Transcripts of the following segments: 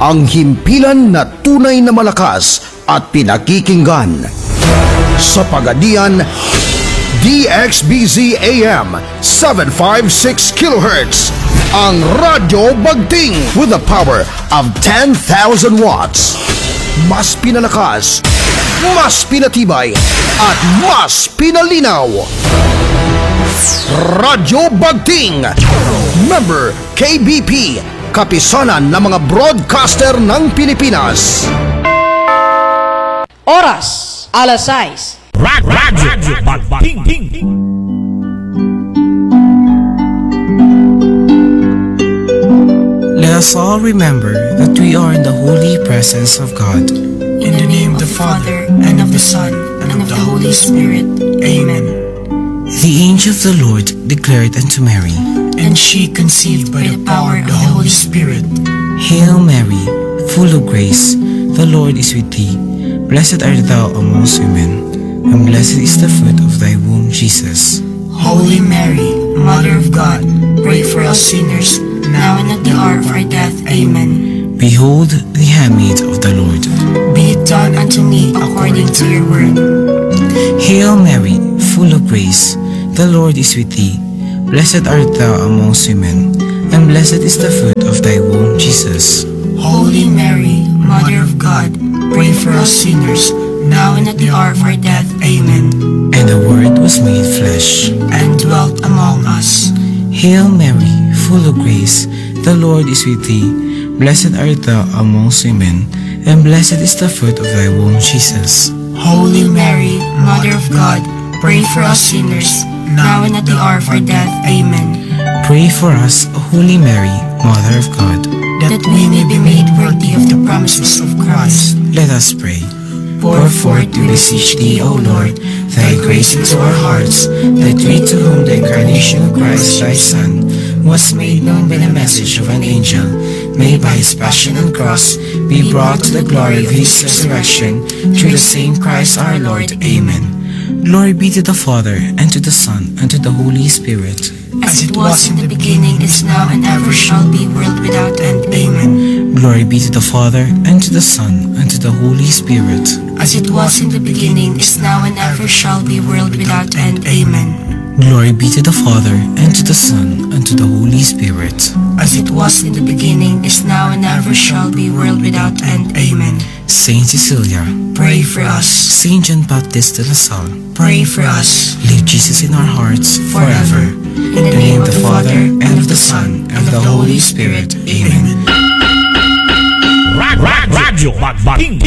Ang himpilan na tunay na malakas at pinakikinggan. Sa Pagadian, DXBZ AM 756 kHz. Ang Radyo Bagting with the power of 10,000 watts. Mas pinalakas, mas pinatibay, at mas pinalinaw. Radyo Bagting! Member KBP, kapisanan ng mga broadcaster ng Pilipinas. Oras, alas 6. Radyo Bagting. Let us all remember that we are in the holy presence of God. In the name of the Father, and of the Son, and of the Holy Spirit. Amen. The angel of the Lord declared unto Mary, And she conceived by the power of the Holy Spirit. Hail Mary, full of grace, the Lord is with thee. Blessed art thou amongst women, and blessed is the fruit of thy womb, Jesus. Holy Mary, Mother of God, pray for us sinners, now and at the hour of our death. Amen. Behold the handmaid of the Lord. Be it done unto me according to your word. Hail Mary, full of grace, the Lord is with thee. Blessed art thou amongst women, and blessed is the fruit of thy womb, Jesus. Holy Mary, Mother of God, pray for us sinners, now and at the hour of our death. Amen. And the Word was made flesh and dwelt among us. Hail Mary, full of grace, the Lord is with thee. Blessed art thou amongst women, and blessed is the fruit of thy womb, Jesus. Holy Mary, Mother of God, pray for us sinners, now and at the hour of our death. Amen. Pray for us, Holy Mary, Mother of God, that we may be made worthy of the promises of Christ. Let us pray. Pour forth, we beseech thee, O Lord, thy grace into our hearts, that we to whom the incarnation of Christ thy Son was made known by the message of an angel, may by his passion and cross be brought to the glory of his resurrection, through the same Christ our Lord. Amen. Glory be to the Father, and to the Son, and to the Holy Spirit. As it was in the beginning, is now, and ever shall be, world without end. Amen. Glory be to the Father, and to the Son, and to the Holy Spirit. As it was in the beginning, is now, and ever shall be, world without end. Amen. Glory be to the Father, and to the Son, and to the Holy Spirit. As it was in the beginning, is now, and ever shall be, world without end. Amen. Saint Cecilia, pray for us. Saint John Baptist de La Salle, pray for us. Leave Jesus in our hearts forever. In the name of the Father, and of the Son, and of the Holy Spirit. Amen. Radyo Bagting.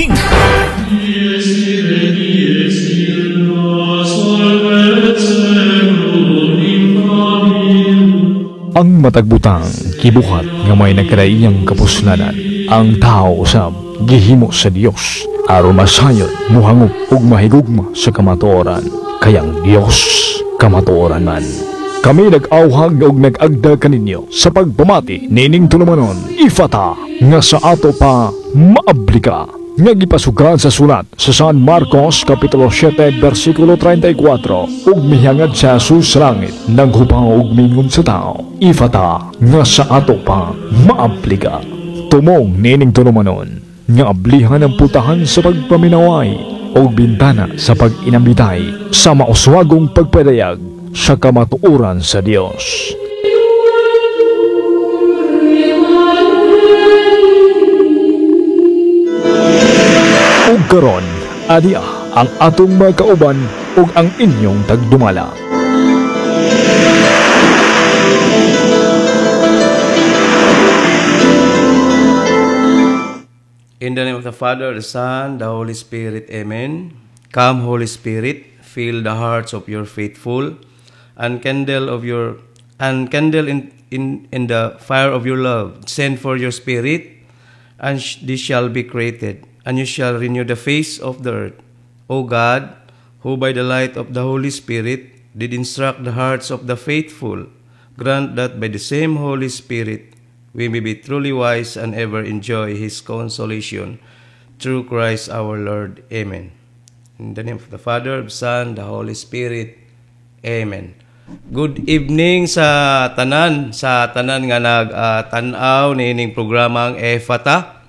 Ang matagbutang gibuhat nga may nagkadaiyang kapuslanan, ang tao usab gihimo sa Dios aron masayod, muhangop ug mahigugma sa kamatuoran, kay ang Dios kamatuoran man. Kami nag-awhag ug nag-agda kaninyo sa pagpamati nining tulumanon, Ifata, nga sa ato pa maablika, nga gipasugan sa sulat sa San Marcos Kapitulo 7 versikulo 34, ug mihangad sa Jesus sa langit, naghupaw ug mingon sa tao, Ifata, nga sa ato pa maablika. Tumong nining tulumanon nga ablihan ang putahan sa pagpaminaway o bintana sa pag-inambitay sa mauswagong pagpadayag sa kamatuoran sa Dios. Ug karon, adia ang atong mga kauban ug ang inyong tagdumala. In the name of the Father, the Son, the Holy Spirit. Amen. Come, Holy Spirit, fill the hearts of your faithful, and kindle in the fire of your love. Send for your Spirit, and this shall be created, and you shall renew the face of the earth. O God, who by the light of the Holy Spirit did instruct the hearts of the faithful, grant that by the same Holy Spirit we may be truly wise and ever enjoy His consolation. Through Christ our Lord. Amen. In the name of the Father, the Son, the Holy Spirit. Amen. Good evening sa tanan nga nag-tanaw niining programang Efata.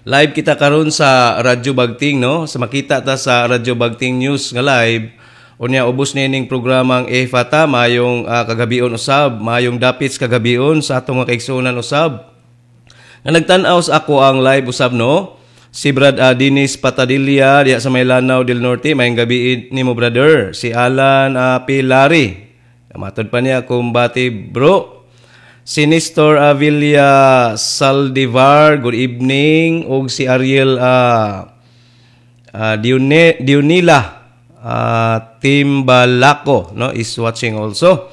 Live kita karon sa Radyo Bagting, no? Sa makita ta sa Radyo Bagting News nga live. Unya ubos nining programang Efata, mayong kagabion usab, mayong dapits kagabion sa atong mga kaigsuonan usab nga nagtan-aw sa ako ang live usab, no? Si Brad Dennis Patadilla diha sa may Lanao del Norte, mayong gabi nimo, brother. Si Alan Pilari. Matod pa niya, kumbati bro. Si Nestor Avilla Saldivar, good evening. Ug si Ariel Dionila Timbalako, no, is watching also.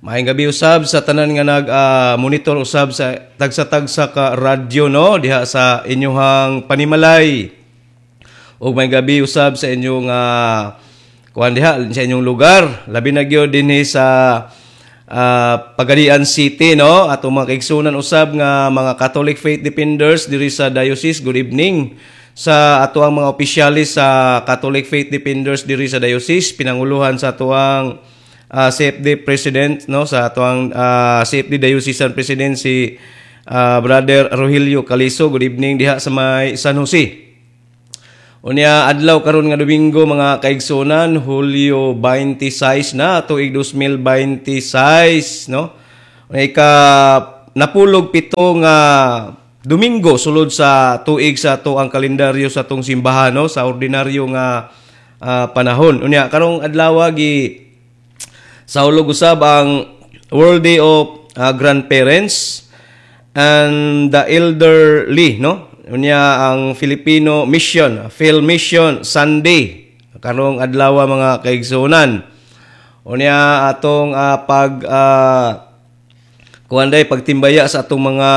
Maayong gabi usab sa tanan nga nag monitor usab sa tagsa-tagsa ka radyo, no, diha sa inyuhang panimalay. Ug maayong gabi usab sa inyong kuan diha sa inyong lugar, labi na gyud dinhi sa Pagadian City, no, atong mga kaigsunan usab nga mga Catholic Faith Defenders diri sa diocese. Good evening sa ato ang mga opisyalis sa Catholic Faith Defenders diri sa diocese, pinanguluhan sa atoang CFD President, no, sa atoang CFD Diocesan President, si Brother Rogelio Caliso. Good evening diha sa may San Jose. Unya adlaw karon nga Domingo, mga kaigsunan, Hulyo 26 na tuig 2026, no. Unya ika 47 nga Domingo sulod sa tuig sa ato ang kalendaryo sa atong simbahan, no, sa ordinaryo nga panahon. Unya karong adlaw gi saulog usab ang World Day of Grandparents and the Elderly, no. Unya ang Filipino Mission, Phil Mission Sunday karong adlaw, mga kaigsuonan. Unya atong pag kuan day pagtimbaya sa atong mga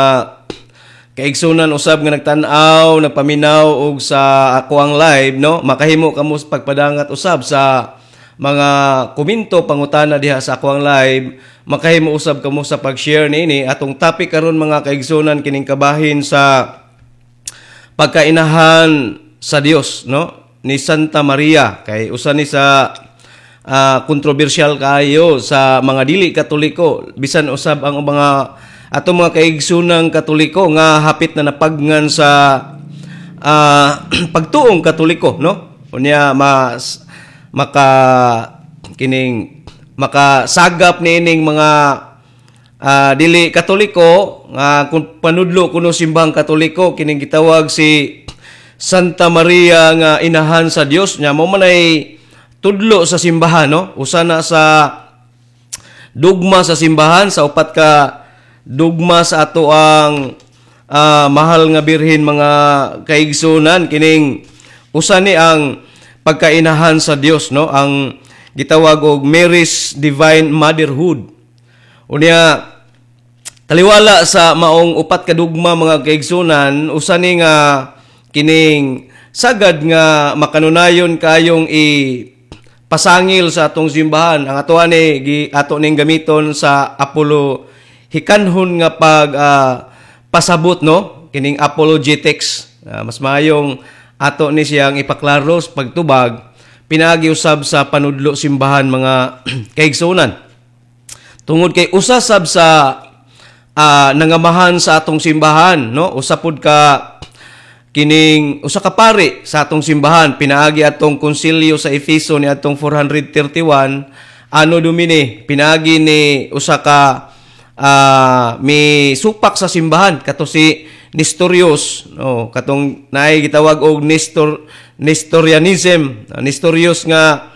kaigsunan usab nga nagtan-aw, nagpaminaw og sa ako ang live, no. Makahimo kamo sa pagpadangat usab sa mga komento, pangutana diha sa ako ang live. Makahimo usab kamo sa pag-share niini atong topic karon, mga kaigsunan, kining kabahin sa pagkainahan sa Dios, no, ni Santa Maria, kay usa ni sa kontrobersyal kaayo sa mga dili Katoliko, bisan usab ang mga atong mga kaigsunang Katoliko nga hapit na napagngan sa pagtuong Katoliko, no. Unya mas maka kining makasagap niining mga dili Katoliko nga kung panudlo kuno simbahang Katoliko, kining gitawag si Santa Maria nga inahan sa Dios nya mo man ay tudlo sa simbahan, no. Usa na sa dugma sa simbahan, sa upat ka dugma sa ato ang mahal nga birhen, mga kaigsunan, kining usa ni ang pagkainahan sa Dios, no, ang gitawag og Mary's Divine Motherhood. Unya taliwala sa maong upat ka dugma, mga kaigsunan, usa ni nga kining sagad nga makanunayon kayong i pasangil sa atong simbahan. Ang ato ani gi ato ning gamiton sa apolo hikanhon nga pag pasabot, no, kining apologetics. Mas mayong ato ni siyang ipaklaro sa pagtubag pinaagi usab sa panudlo simbahan, mga kaigsunan, tungod kay usa sab sa nangamahan sa atong simbahan, no, usa pud ka kining usa ka pari sa atong simbahan pinaagi atong konsilyo sa Efeso ni atong 431 Anno Domini, pinaagi ni usa ka mi supak sa simbahan kato si Nestorius, no, katong naay gitawag og Nestorianism, Nestorius nga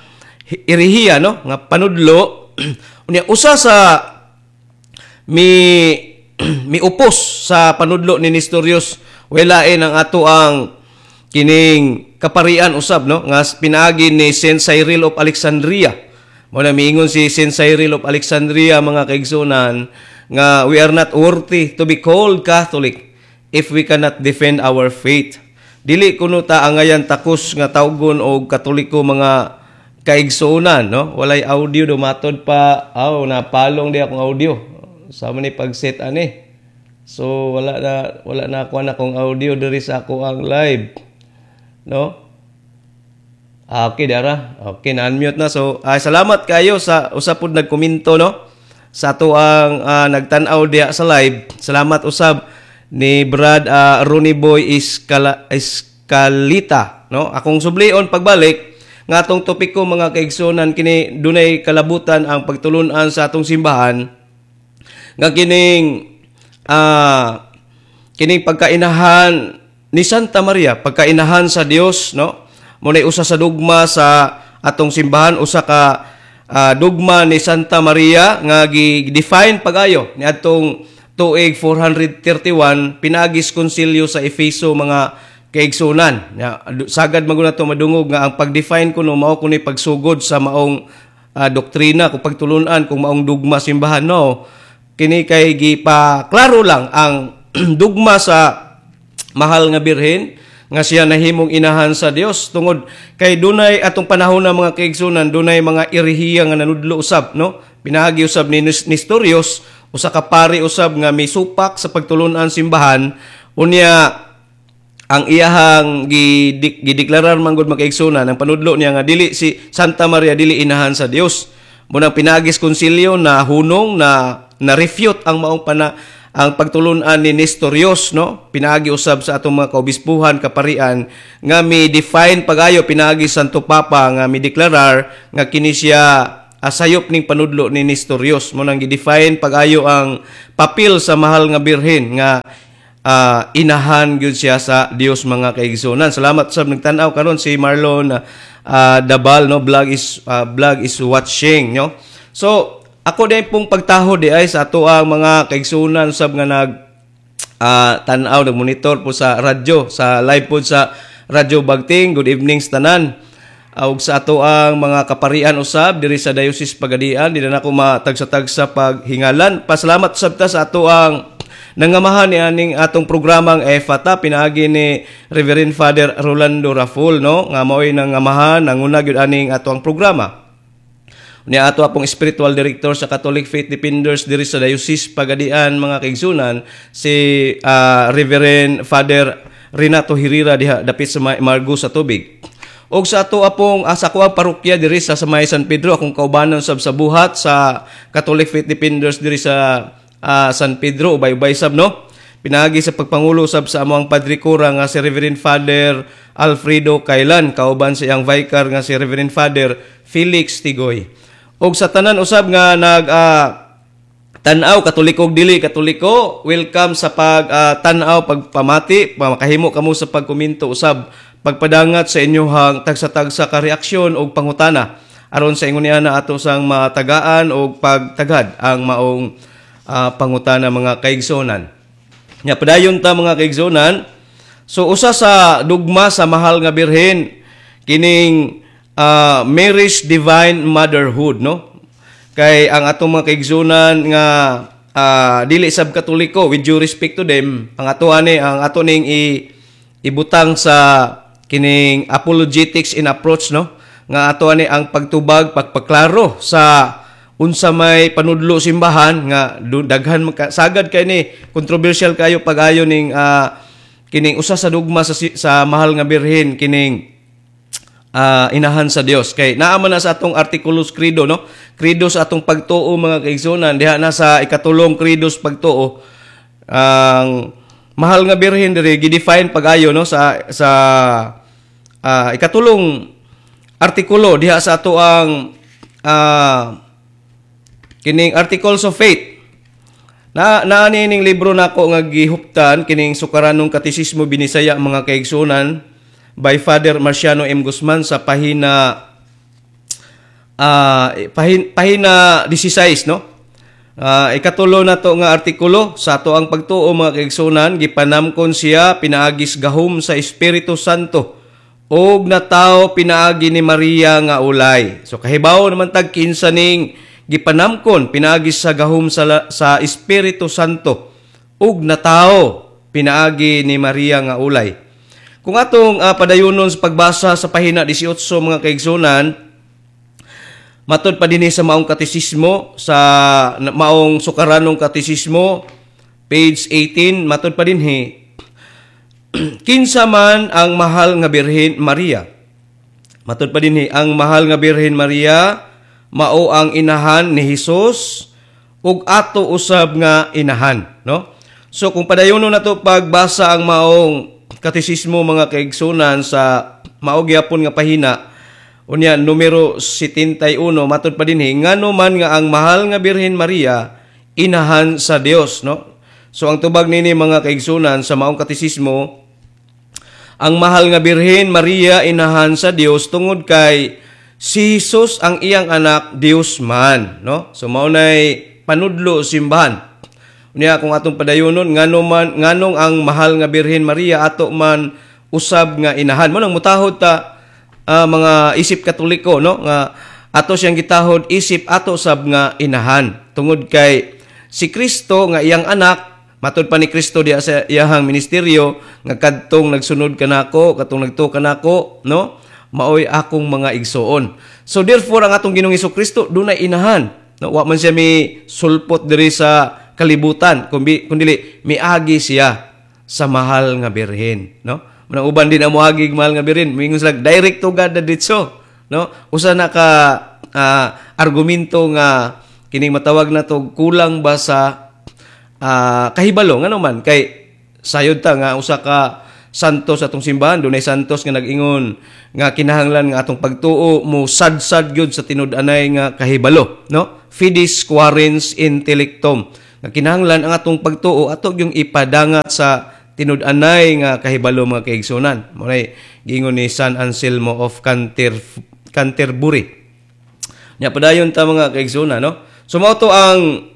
irihiya, no, nga panudlo. Unya usa sa mi miupos sa panudlo ni Nestorius walain ang ato ang kining kaparian usab, no, nga pinaagi ni Saint Cyril of Alexandria. Mo na miingon si Saint Cyril of Alexandria, mga kaigsunan, nga we are not worthy to be called Catholic if we cannot defend our faith. Dili kuno ta angayan takos nga tawgon og Katoliko, mga kaigsuonan, no. Walay audio dumatod pa. Aw, napalong di akong audio sa ni pag-set ani. So wala na ako na akong audio diri sa ako ang live, no. Ah, okay dara, okay na unmute na. So ay, salamat kayo sa usa pud nagkomento, no, sa ato ang nagtan-aw diha sa live. Salamat usab. Ni Brad Ronnie Boy Escalita, no? Akong sublion pagbalik nga atong topiko, mga kaigsunan, kini dunay kalabutan ang pagtulunan sa atong simbahan nga kining pagkainahan ni Santa Maria, pagkainahan sa Dios, no? Mo usa sa dugma sa atong simbahan, usa ka dugma ni Santa Maria nga gi-define pagayo niadtong tuig 431 pinaagis konsilyo sa Efeso, mga kaigsunan. Ya, sagad man gud nato madungog nga ang pag-define kuno mao kuno pagsugod sa maong doktrina kung pagtulunan kung maong dugma simbahan, no? Kini kay gipa klaro lang ang dugma sa mahal nga birhen nga siya nahimong inahan sa Dios, tungod kay dunay atong panahon na, mga kaigsunan, dunay mga erehiya nga nanudlo usab, no? Pinaagi usab ni Nestorius, usa ka pari usab nga misupak sa pagtulunan simbahan. Unya ang iyahang gideklarar man gud, mga kaigsunan, ang panudlo niya nga dili si Santa Maria, dili inahan sa Dios. Munang pinaagis konsilyo na hunong na na refute ang maong pana ang pagtulunan ni Nestorius, no? Pinaagi usab sa atong mga kaobispuhan, kaparian nga mi define pagayo pinaagi Santo Papa nga mi deklarar nga kini siya asayop ning panudlo ni Nestorius. Mo nang gi-define pagayo ang papel sa mahal nga birhen nga inahan gyud siya sa Dios, mga kaigsunan. Salamat sa nagtan-aw karon, si Marlon Dabal, no? Vlog is watching, no? So ako din pong pagtaho di ay sa ato ang mga kaigsunan sab nga nag tan-aw, nagmonitor po sa radyo, sa live po sa Radyo Bagting. Good evening sa tanan. Ug sa ato ang mga kaparian usab diri sa Diocese Pagadian, di na nako matagsa-tagsa paghingalan. Pasalamat usab ta sa ato ang nangamahan ni aning atong programang EFATA pinaagi ni Reverend Father Rolando Raful, no? Nga mao'y nangamahan, nanguna gyud aning ato ang programa. Ni ato apong spiritual director sa Catholic Faith Defenders diri sa Diocese Pagadian, mga kaigsunan, si Reverend Father Renato Herrera diha dapit sa Margo sa tubig. Og sa ato apong sa ako ang parokya diri sa Samay San Pedro, akong kaubanon sab sa buhat sa Catholic Faith Defenders diri sa San Pedro, ubay-ubay sab, no? Pinaagi sa pagpangulo sab sa among Padre Cura nga si Reverend Father Alfredo Kailan, kauban sa iyang vicar nga si Reverend Father Felix Tigoy. Og sa tanan usab nga nag tan-aw, Katoliko ug dili Katoliko, welcome sa pag tan-aw, pagpamati, makahimo kamo sa pagkomento usab, pagpadangat sa inyohang tagsa-tagsa ka reaksyon og pangutana aron sa ingon niya na ato sang matagaan og pagtagad ang maong pangutana, mga kaigsonan. Nya padayon ta, mga kaigsonan. So usa sa dugma sa mahal nga birhen kining Mary's Divine Motherhood, no? Kay ang atong mga kaigsunan nga dili sab Katoliko, with due respect to them, ang ato ani, ang ato ning ibutang sa kining apologetics in approach, no? Nga ato ani ang pagtubag, pagpaklaro sa unsa may panudlo simbahan nga daghan sagad kay ni controversial kayo pag-ayo ning kining usa sa dugma sa mahal nga birhen kining inahan sa Dios, kay naa man na sa atong artikulos credo, no? Credo sa atong pagtuo, mga kaigsunan, diha na sa ikatulong credo sa pagtuo, ang mahal nga birhen diri gi-define pag-ayo, no? Sa ikatulong artikulo diha sa ato ang kining Articles of Faith na naani ning libro nako nga gihuptan, kining Sukaranong Katesismo Binisaya, mga kaigsunan, by Father Marciano M. Guzman, sa pahina 16, no? Ikatulo na to nga artikulo sa ato ang pagtuo, mga kaigsunan, gipanamkon siya pinaagis gahom sa Espiritu Santo og natawo pinaagi ni Maria nga ulay. So kahibaw naman tag kinsa ning gipanamkon pinaagi sa gahom sa Espiritu Santo ug natawo pinaagi ni Maria nga ulay. Kung atong padayunon sa pagbasa sa pahina 18, mga kaigsunan, matud pa dinhi sa maong katesismo, sa maong Sukaranong Katesismo, page 18, matud pa dinhi, kinsa man ang mahal nga Birhen Maria? Matud pa dinhi, ang mahal nga Birhen Maria mao ang inahan ni Hesus ug ato usab nga inahan, no? So kung padayonon nato pagbasa ang maong katisismo, mga kaigsunan, sa mao gyapon nga pahina, unya numero 71, matud pa dinhi, ngano man nga ang mahal nga Birhen Maria inahan sa Dios, no? So ang tubag nini, mga kaigsunan, sa maong katisismo, ang mahal nga Birhen Maria inahan sa Dios tungod kay si Jesus ang iyang anak Dios man, no? So mao nay panudlo simbahan. Unya kung atong padayonon, ngano man nganong ang mahal nga Birhen Maria ato man usab nga inahan? Mao nang mutahod ta mga isip Katoliko, no, nga ato siyang gitahod isip ato sab nga inahan tungod kay si Kristo nga iyang anak, matud pa ni Kristo diya sa iyahang ministeryo nga kadtong nagsunod kanako, katong nagtuo kanako, no, maoy akong mga igsoon. So therefore ang atong Ginoong Kristo dunay inahan, no? Wa man siya mi sulpot diri sa kalibutan kun dili miagi siya sa mahal nga birhen, no? Manang uban din ang moagi mahal nga birhen, mingon sila direct to God na ditso, no? Usa na ka argumento nga kining matawag na to kulang ba sa kahibalo. Ngano man kay sayod ta nga usa ka santo sa atong simbahan, dunay santos nga nag-ingon nga kinahanglan nga atong pagtuo mo sadsad gyud sa tinud-anay nga kahibalo, no? Fides quaerens intellectum, nga kinahanglan ang atong pagtuo ato yung ipadangat sa tinud-anay nga kahibalo, mga kaigsunan. Mao giingon ni San Anselmo of Canterbury. Nya padayon ta, mga kaigsunan, no? So mao to ang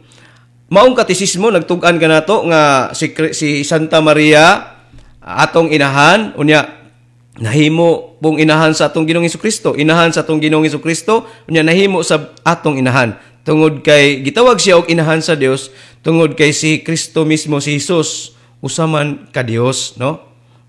maong katisismo, nagtug-an kanato nga si Santa Maria atong inahan, unya nahimo pong inahan sa atong Ginoong Kristo, inahan sa atong Ginoong Kristo, unya nahimo sa atong inahan tungod kay gitawag siya og inahan sa Dios tungod kay si Kristo mismo, si Jesus, usa man ka Dios, no?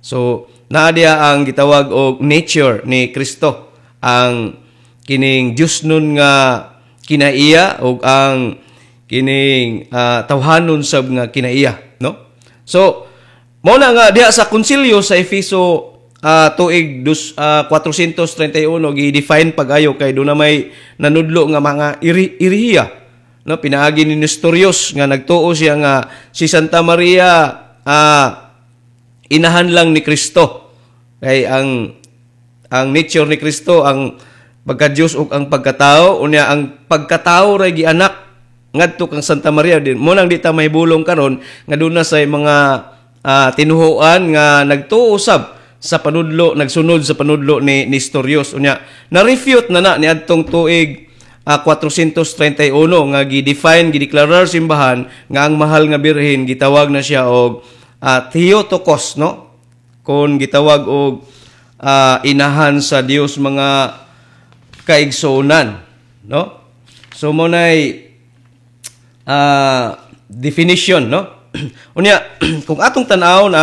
So naa diya ang gitawag og nature ni Kristo, ang kining Dios nun nga kinaiya ug ang kining tawhanon sab nga kinaiya, no? So mao na nga diha sa konsilyo sa Efeso tuig 431 gi-define pag-ayo kay doon na may nanudlo nga mga irihiya, no, pinaagi ni Nestorius nga nagtuo siya nga si Santa Maria inahan lang ni Kristo kay ang nature ni Kristo ang pagka-Dios ug ang pagkatao, unya ang pagkatao ray gianak ngadto kang Santa Maria din. Mao nang di ta mahibulong karon nga doon na sa mga tinuhuan nga nagtuo sab sa panudlo, nagsunod sa panudlo ni Nestorius. Unya na-refute na na niadtong tuig 431 nga gi-define, gideklarar simbahan nga ang mahal nga birhen gitawag na siya og Theotokos, no, kon gitawag og inahan sa Dios, mga kaigsuonan, no? So mao nay definition, no? Unya kung atong tan-awon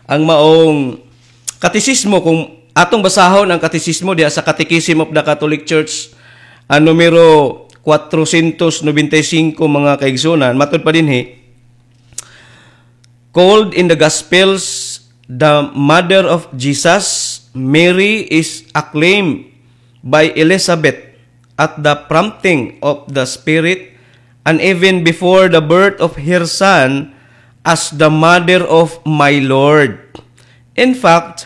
ang maong katisismo, kung atong basahon ang katisismo diha sa Catechism of the Catholic Church ang numero 495, mga kaigsunan, matud pa dinhi, "Called in the Gospels the mother of Jesus, Mary is acclaimed by Elizabeth at the prompting of the Spirit and even before the birth of her son as the mother of my Lord. In fact,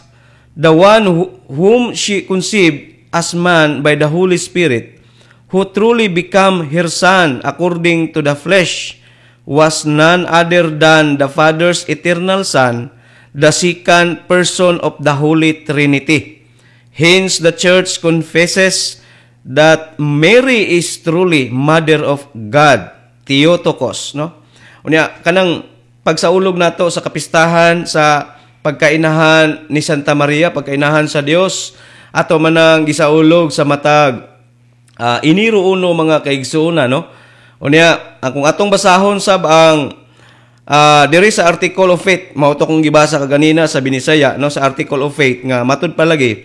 the one whom she conceived as man by the Holy Spirit, who truly became her son according to the flesh, was none other than the Father's eternal Son, the second person of the Holy Trinity. Hence, the Church confesses that Mary is truly Mother of God, Theotokos," no? Unya, kanang pagsaulog nato sa kapistahan sa pagkainahan ni Santa Maria, pagkainahan sa Dios, ato manang gisaulog sa matag Enero 1, mga kaigsuonan, no? Unya, ang kung atong basahon sab ang diri sa Article of Faith, mao to kong gibasa kaganina sa Binisaya, no, sa Article of Faith nga matud palagi,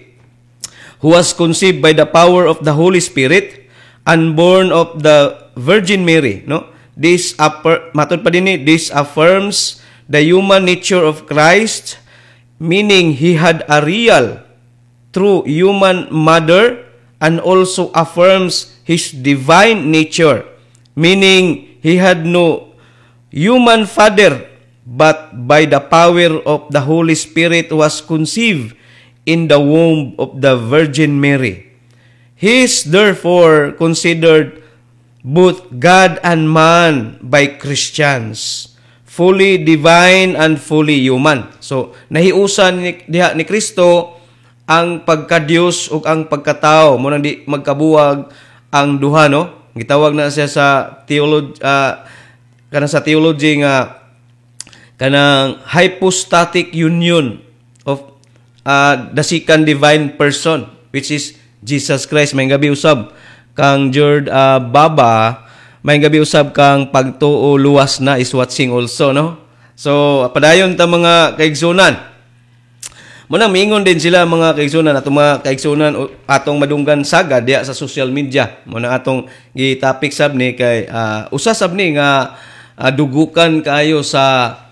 "Who was conceived by the power of the Holy Spirit and born of the Virgin Mary," no? This upper, matud pa dinhi, "This affirms the human nature of Christ, meaning he had a real, true human mother, and also affirms his divine nature, meaning he had no human father, but by the power of the Holy Spirit was conceived in the womb of the Virgin Mary. He is therefore considered both God and man by Christians, fully divine and fully human. So, nahiusan diha ni Kristo ang pagka-Dios ug ang pagkatao. Mao nang di magkabuwag ang duha, no? Gitawag na siya sa theology, kanang sa theology nga kanang hypostatic union of the second divine person, which is Jesus Christ. May gabi usab kang Jord Baba, may gabi usab kang Pagtuo Luwas na is watching also, no? So padayon ta, mga kaigsunan. Mao nang miingon din sila, mga kaigsunan, atong mga kaigsunan atong madunggan sagad diya sa social media. Mao na atong gi-topic sab ni kay usa sab ni nga dugukan kaayo sa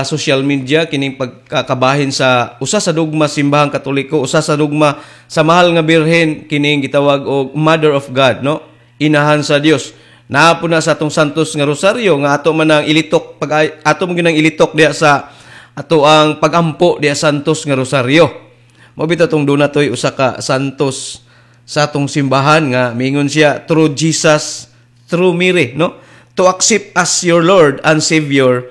social media kining pagkakabahin sa usa sa dogma Simbahang Katoliko, usa sa dogma sa Mahal nga Birhen, kining gitawag og Mother of God, no, Inahan sa Dios. Naa po na sa atong Santos nga Rosaryo nga ato man ang ilitok pag ato man gyud ang ilitok diya sa ato ang pagampo diya Santos nga Rosaryo. Mao bitaw tong duna toy usa ka santos sa atong simbahan nga mingon siya, "Through Jesus, through Mary," no, to accept as your Lord and Savior.